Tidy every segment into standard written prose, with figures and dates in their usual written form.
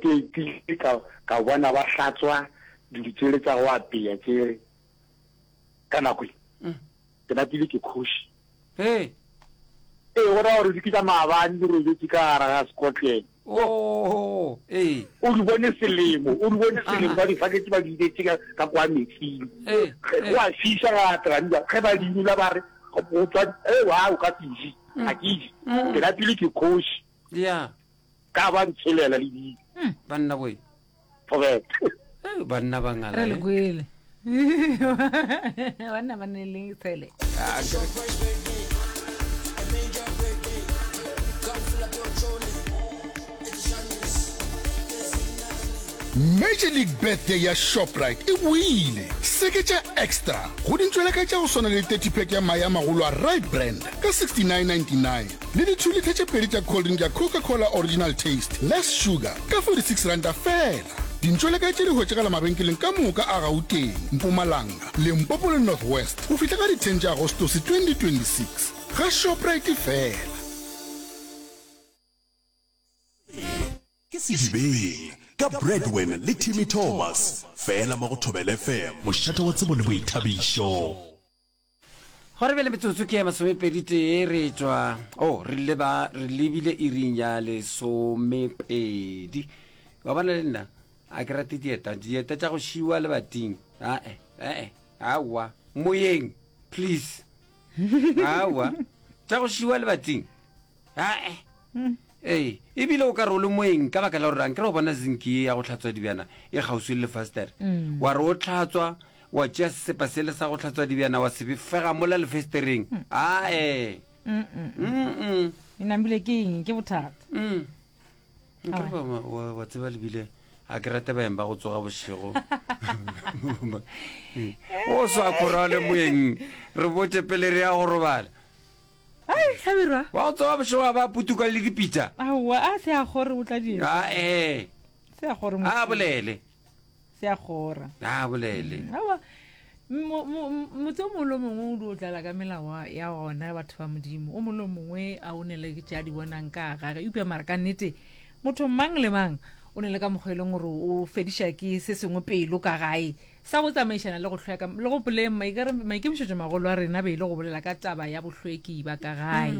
ke etile ka ka bona ba hlatswa dilo tsele tsa go apeya tsele ka nako e. Ke napile ke kgoši. Hey. Ee, go raya gore ke tša maabane di robetše ka gare ga sekotlelo. Oh, ee. O di bone selemo, o di bone selemo, ba di faketše ba di inetše ka, ka kwa metsing. Ee, Ge go a fiša ga traniwa, ge ba di inola ba re, go tswa, ee, wa, o ka se je. Ga ke je. Ke napile ke kgoši. Ya. Ka ba ntshelela le dijo. Banna boy. Thobela. Ee, banna ba ngala. Re le eh. kwele. Banna ba ne le tshele. Ah, ke- Major League Birthday ya Shoprite e boile! Seketša Extra go dintšweleka tša go swana le 30 pack ya mae a magolo a Rite Brand ka 69.99 le di 2 litha tše pedi tša cold drink ya Coca-Cola Original Taste Less Sugar ka R46 feela. Dintšweleka tše di hwetšagala mabenkeleng ka moka a Gauteng, Mpumalanga, Limpopo le North West go fihla ka di 10 tša Agostose 2026. Ga Shoprite feela. Ke Sedibeng ka Bradwin le Timmy Thomas, fela mo go Thobela FM, mošate wa tsebo le boithabišo. Gore bjale metsotso ke ya masomepedi tee re tšwa o oh, re leba re lebile iring ya lesomepedi wa bona le nna a ke rate dieta dieta tša go šiwa lebating ae ee aowa moyeng please aowa tša go šiwa lebating Ae. Ee, ebile o ka re o le moeng ka baka la gore ankere o bona zinki ye ya go hlatswa dibjana e kgauswi le lefastere. Wa re o hlatswa, wa tšea sesepa sele sa go hlatswa dibjana wa se fega mola lefestereng. Ae. Mm-mm. E namile ke eng? Ke bothata. Mm. Nkere ba- wa- wa wa tseba lebile a ke rate baeng ba go tsoga bošego. O swa khora le moeng re botše pele re ya go robala. Ai, Hlabirwa. Wa go tsoga bošego a ba putuka le dipitša. Aowa, a se a gore o tla di. A ee. Se a gore. A bolele. Se a gora. A bolele. Mm, aowa. Motse o mongwe le mongwe o di o tlala ka melao ya gona batho ba modimo o mongwe le mongwe a o ne le tše a di bonang ka gage eupša mara ka nnete motho mang le mang o ne le ka mokgwa e leng gore o fediša ke se sengwe pelo ka gae Sa go tsamaišana le go hlweka, le gopoleng maikemišetšo magolo a rena be e le go bolela ka taba ya bohlweki ba ka gae.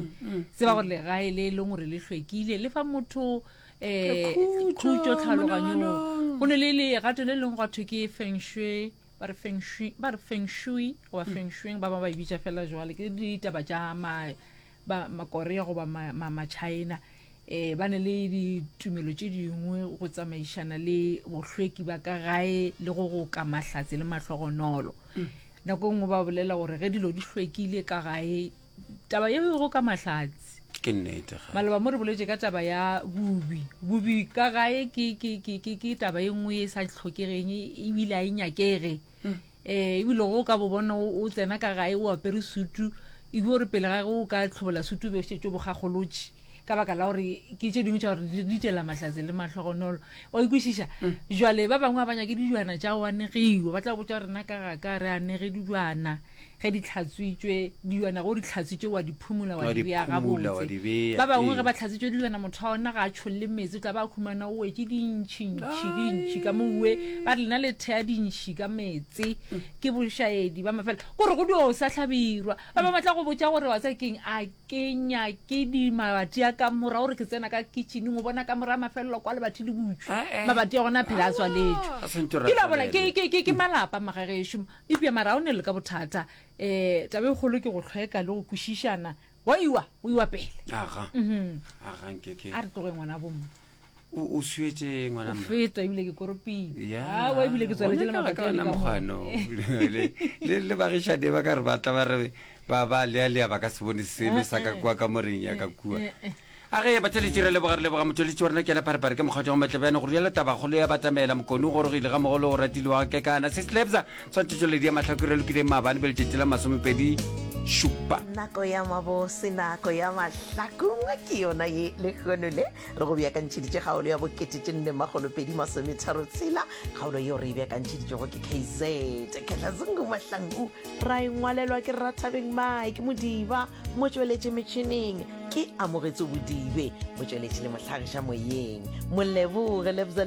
Tseba gore legae le e leng gore le hlwekile le fa motho um khutšo tlhaloganyong. Go ne le legato le leng gwa thwe ke feng shui, ba re feng shui, ba re feng shui goba feng shuing, ba bangwe ba e bitša fela jwale. Ke ditaba tša ma, ba Makorea goba ma, ma, ma-China. um ba ne le ditumelo tše dingwe go tsamaišana le bohlweki ba ka gae le go go ka mahlatse le mahlogonolo mm. nako e nngwe ba bolela gore ge dilo di hlwekile ka gae taba ye go ka mahlatse ke nnete maloba mo re boletše ka taba ya bubi bubi ka gae ke, ke, ke, ke, ke taba e nngwe e sa tlhokegeng ebile a e nyakege mm. um ebile go ka bo bona o tsena ka gae o apere sutu ebile gore pele ga ge o ka tlhobola sutu o be o šetše o bogagolotše ka baka la gore ke tše dingwe tša gore di tšela mahlatse le mahlogonolo o ikwešiša mm. jale ba bangwe ba banyake dijwana tša go anegiwa ba tla botša rena ka ga ka re anege dijwana ge di tlhatswitšwe dijwana go di tlhatswitšwe wa di phumula wa di bea gabotse ba bangwe ge ba tlhatswitšwe dijwana motho wa ona ga a tšholle metsi o tla ba khumana o wetše dintšhintšhi dintšhi ka moue ba re lena le thea dintšhi ka meetse ke bošaedi ba mafela kore go dio sa hlabirwa ba bangwe ba tla go botša gore wa tsa keng a ke nyake di mabati a kamora gore ke tsena ka kitcheneng o bona kamora ya mafelelo kwa lebati le butšwe Eh, eh. mabati a gona a phela a tswaletšwe A swantše ke la bona tswalelwe. ke ke ke ke malapa magagešo Eupša mara ga o ne le ka bothata. Um taba e kgolo ke go hlweka le go kwešišana. Wa iwa, o iwa pele. Aga. Mhm. Aga nke ke. A re tloge ngwana bomma. O o swietše ngwana O mma. feta ebile ke koropile. Ya. Aowa ebile ke tswaletše le Gona mabati ka a ona le ka mo. mokgwano. Le le le bagišane ba ka re ba tla ba re ba ba lea lea ba ka se bone selo sa ka kua kamoreng ya ka kua. A ge batheletši re leboga re leboga motšweletši wa rena ke yena Pharephare ke mokgatšo wa Matlebjane go rialo tabakgolo ya batamela Mokone o gorogile ga mogolo o ratile wa Kekana se Slebza tshwantšhetšoledi ya mahlako re lokileng maabane be letšatši la masomepedi šupa. Nako ya mabose, nako ya mahlakong ke yona ye lehono le re go beakantšheditše kgaolo ya bokete tše nne makgolo pedi masometharo tshela. Kgaolo yeo re e beakantšheditšego ke KZ Khehlazungu Mahlangu, ra e ngwalelwa ke Rathabeng Mike Modiba motšweletši metšhineng Ke amogetso Bodibe, motšweletši le mohlagiša moyeng. Moleboge Lebza.